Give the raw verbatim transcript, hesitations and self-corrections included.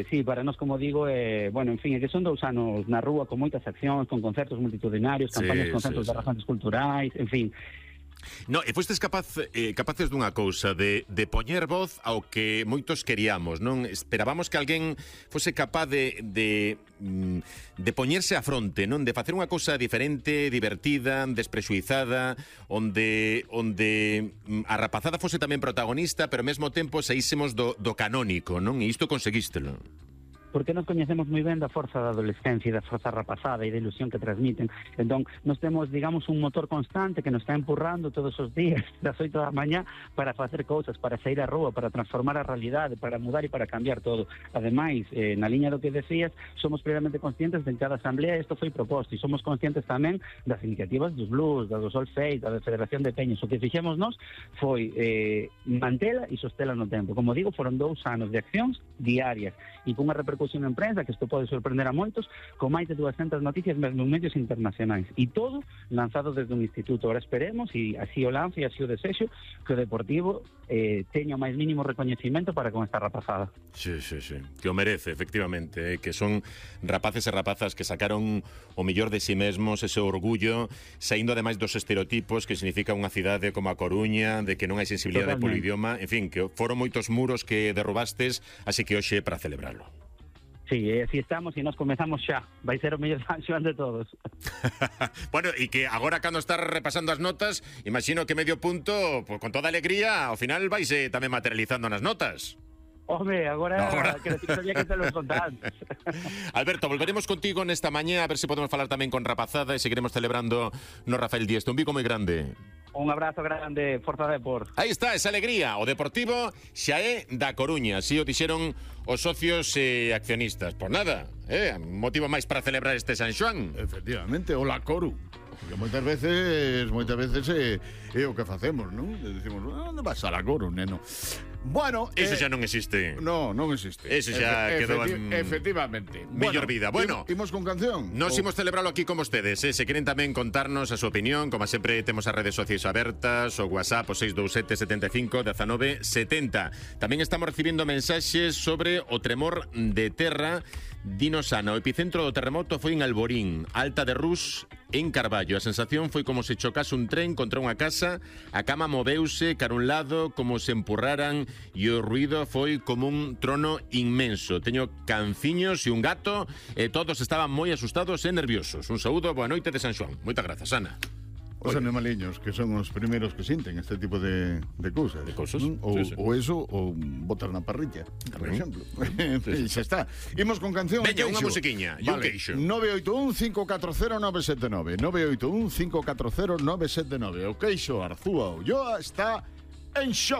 Sí, para nós, como digo, eh, bueno, en fin, é que son dous anos na rúa con moitas accións, con concertos multitudinarios, campañas Sí, con sí, centros sí. de razóns culturais, en fin. No, e fostes capaz, eh, capaces dunha cousa, de, de poñer voz ao que moitos queríamos, non? Esperábamos que alguén fose capaz de, de, de poñerse a fronte, non? De facer unha cousa diferente, divertida, desprexuizada, onde onde a rapazada fose tamén protagonista, pero ao mesmo tempo saísemos do, do canónico, non? E isto conseguístelo. Porque nos coñecemos moi ben da forza da adolescencia e da forza rapazada e da ilusión que transmiten. Entón, nos temos, digamos, un motor constante que nos está empurrando todos os días das oito da mañá para facer cousas, para sair á rúa, para transformar a realidade, para mudar e para cambiar todo. Ademais, eh, na liña do que decías, somos plenamente conscientes de que cada asamblea isto foi proposto e somos conscientes tamén das iniciativas dos blues, da do Solfeis, da Federación de Peñas. O que fixemos nós foi eh, mantela e sostela no tempo. Como digo, foron dous anos de accións diarias e con unha repercusión en prensa, que isto pode sorprender a moitos, con máis de duascentas noticias mesmo en medios internacionais. E todo lanzado desde un instituto. Ahora esperemos, e así o lanzo e así o desexo, que o Deportivo eh, teña o máis mínimo recoñecimento para con esta rapazada. Sí, sí, sí. Que o merece, efectivamente, eh, que son rapaces e rapazas que sacaron o mellor de si mesmos, ese orgullo, saindo ademais dos estereotipos que significa unha cidade como a Coruña, de que non hai sensibilidade polo idioma, en fin, que foron moitos muros que derrubastes, así que hoxe é para celebrarlo. Sí, e así estamos e nos comezamos xa. Vai ser o mellor San Xoán de todos. Bueno, e que agora cando estás repasando as notas, imagino que medio punto, pues, con toda alegría, ao final vais eh, tamén materializando nas notas. Home, agora, agora. que sabía que te los contaban. Alberto, volveremos contigo nesta mañá a ver se podemos falar tamén con rapazada e seguiremos celebrando no Rafael Dieste. Un bico moi grande. Un abrazo grande, Forza Depor. Aí está, esa alegría. O Deportivo xa é da Coruña. Así o dixeron os socios e accionistas. Pois nada, eh, motivo máis para celebrar este San Xoán. Efectivamente, o la Coru. Porque moitas veces, moitas veces é, é o que facemos, non? Decimos, onde vas a la Coru, neno? Bueno, Eso eh, xa non existe. No, non existe. Eso xa Efe, quedou efecti en... Efectivamente. Mellor vida. Bueno, imos con canción. Nos O... imos celebralo aquí con vostedes, eh? Se queren tamén contarnos a súa opinión, como sempre temos as redes sociais abertas, o WhatsApp o seis dous sete, setenta e cinco, dezanove, setenta. Tamén estamos recibindo mensaxes sobre o tremor de terra. Dinos, Ana, o epicentro do terremoto foi en Alborín, Alta de Rus, en Carballo. A sensación foi como se chocase un tren contra unha casa, a cama moveuse cara un lado como se empurraran e o ruido foi como un trono inmenso. Teño canciños e un gato e todos estaban moi asustados e nerviosos. Un saúdo, boa noite de San Xoán. Moitas grazas, Ana. Os animaliños, que son os primeiros que sinten este tipo de, de cousas. De cousas, ¿no? Ou, sí, sí. ou eso, ou botar na parrilla, por exemplo. Sí, sí. Xa está. Imos con canción. Veña, unha queixo. musiquiña, e un Vale. queixo. nove oito un, cinco catro cero, nove sete nove nove oito un, cinco catro cero, nove sete nove. O queixo Arzúa Ulloa está en shock.